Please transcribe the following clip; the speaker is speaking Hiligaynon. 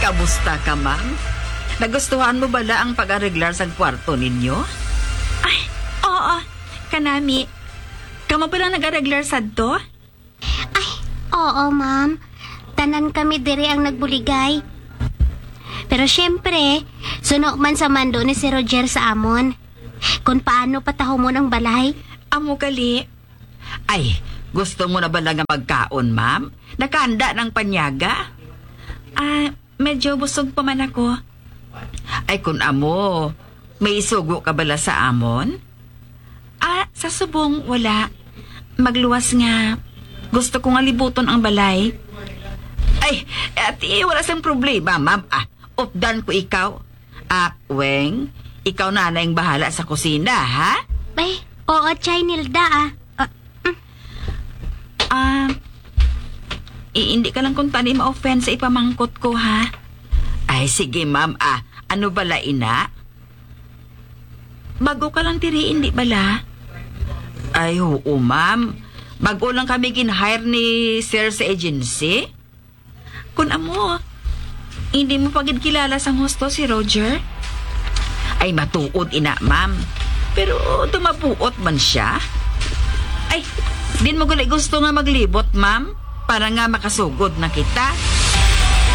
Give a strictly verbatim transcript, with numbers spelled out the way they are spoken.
Kamusta ka, ma'am? Nagustuhan mo bala ang pag-areglar sang kwarto ninyo? Ay, oo. Kanami. Kamo bala nag-areglar sadto? Ay, oo, ma'am. Tanan kami diri ang nagbuligay. Pero siyempre, suno man sa mando ni si Roger sa amon. Kung paano patahumon ang balay. Amo gali. Ay, gusto mo na bala nga magkaon, ma'am? Nakahanda ng panyaga? Ah, medyo busog pa man ako. Ay, kun amo, may isugo ka bala sa amon? Ah, sa subong, wala. Magluwas nga. Gusto ko nga libuton ang balay. Ay, ati, wala sang problema, ma'am. Ah, updan ko ikaw. Ah, Weng, ikaw na ang bahala sa kusina, ha? Ay, oo, Chay Nilda, ah. Ah, mm. Ah, i-, hindi ka lang kung tani ma-offend sa ipamangkot ko, ha? Ay, sige, ma'am. Ah, ano bala ina? Bago ka lang diri, hindi bala? Ay, oo, ma'am. Bago lang kami gin-hire ni sir sa agency. Kun amo, hindi mo pa gid kilala sang husto si Roger? Ay, matuod ina, ma'am. Pero tumabuot man siya. Ay, din mo gali gusto nga maglibot, ma'am, para nga makasugod na kita.